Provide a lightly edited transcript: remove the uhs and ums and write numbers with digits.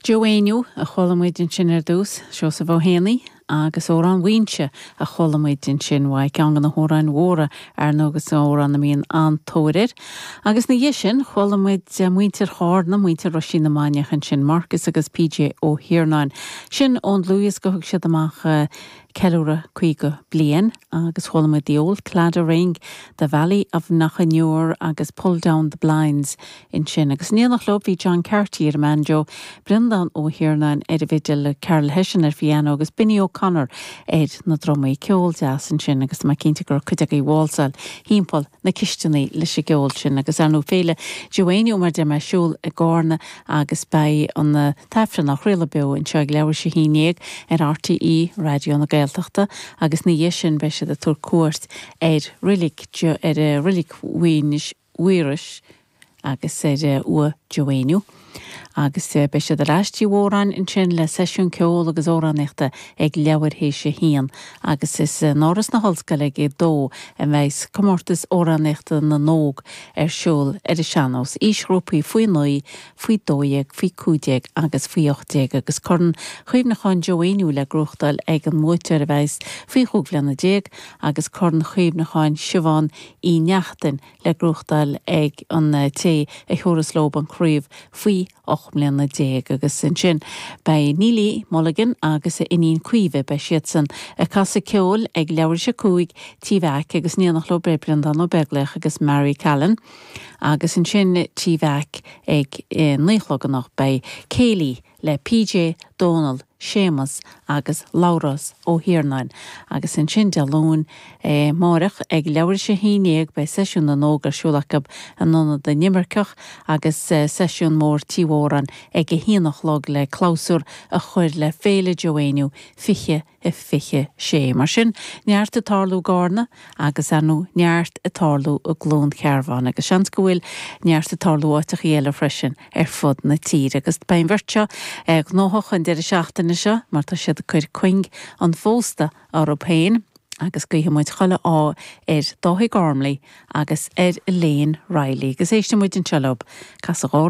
Joe Éinniú a chuala muid ansin ar dtús, Seosamh Ó hÉanaí agus Amhrán Mhaínse a chuala muid ansin uaidh, ceann de na hamhráin mhóra ar ndóigh agus amhrán a mbíonn an-tóir air. Agus ina dhiaidh sin chuala muid muintir Chárna, muintir Roisín na Mainiach ansin, Marcus agus PJ Ó hIarnáin. Sin ón dlúthdhiosca a thug siad amach Ceiliúradh 50 Bliain agus chuala muid The Old Claddagh Ring, The Valley of Knockanure agus Pull Down the Blinds ansin. Agus in éineacht leo bhí John Carty ar an mbanjo, Breandán Ó hIarnáin ar an bhfidil, Carol Hession ar phiano agus Binny O'Connor ar na drumaí. Ceol deas ansin agus tá mé cinnte go raibh cuid agaibh ag válsáil thimpeall na cisteanaí leis an gceol sin agus ar ndóigh Féile Joe Éinniú mar a deir mé ar siúl i gCárna agus beidh an tAifreann á chraoladh beo anseo ag leathuair tar éis 11 ar RTÉ Raidió na Gaeltachta agus ina dhiaidh sin beidh siad ag tabhairt cuairt ar reilig ar reilig Mhaorais agus ar uaigh Joe Éinniú agus beidh siad ar ais Tí Mhóráin ansin le seisiún ceoil agus amhránaíochta ag leathuair théis a haon agus is in Áras na hOllscoile ag a dó a bheidh comórtas amhránaíochta na nÓg ar siúl ar an sean-nós, aoisghrúpaí faoi 9, faoi 12, faoi 15 agus faoi 18 agus Corn Chuimhneacháin Joe Éinniú le gnóthachtáil ag an mbuaiteoir a bheas faoi chúig bhliana déag agus Corn Chuimhneacháin Siobhán Uí Neachtain le gnóthachtáil ag an té a thabharfas leo an chraobh faoi 18 mbliana agus ansin beidh Neilí Mulligan agus a iníon Caoimhe, beidh siadsan ag casadh ceoil ag leathuair théis a 5 Tí Mheaic agus in éineacht leo beidh Breandán Ó Beaglaoich agus Mary Callan agus ansin Tí Mheaic ag 9 a chlog anocht beidh céilí le PJ, Dónal, Séamus agus Labhrás Ó hIarnáin agus ansin Dé Luain, amáireach ag leathuair théis 11 beidh seisiún na nÓg ar siúl acu in Ionad na nImirceach agus seisiún mór Tí Mhóráin ag a haon a chlog le clabhsúr a chur le Féile Joe Éinniú 20 26. Mar sin, neart ag tarlú i gCárna agus, ar ndóigh, neart ag tarlú i gCluain Cearbán agus seans go bhfuil neart ag tarlú áiteachaí eile freisin ar fud na tíre. Agus beidh an bheirt seo gnóthach an deireadh seachtaine seo mar tá siad ag cur cuing an phósta orthu féin agus guífidh muid chuile ádh ar Dáithí Gormley agus ar Elaine Reilly. Agus éistfidh muid anseo leo ag casadh.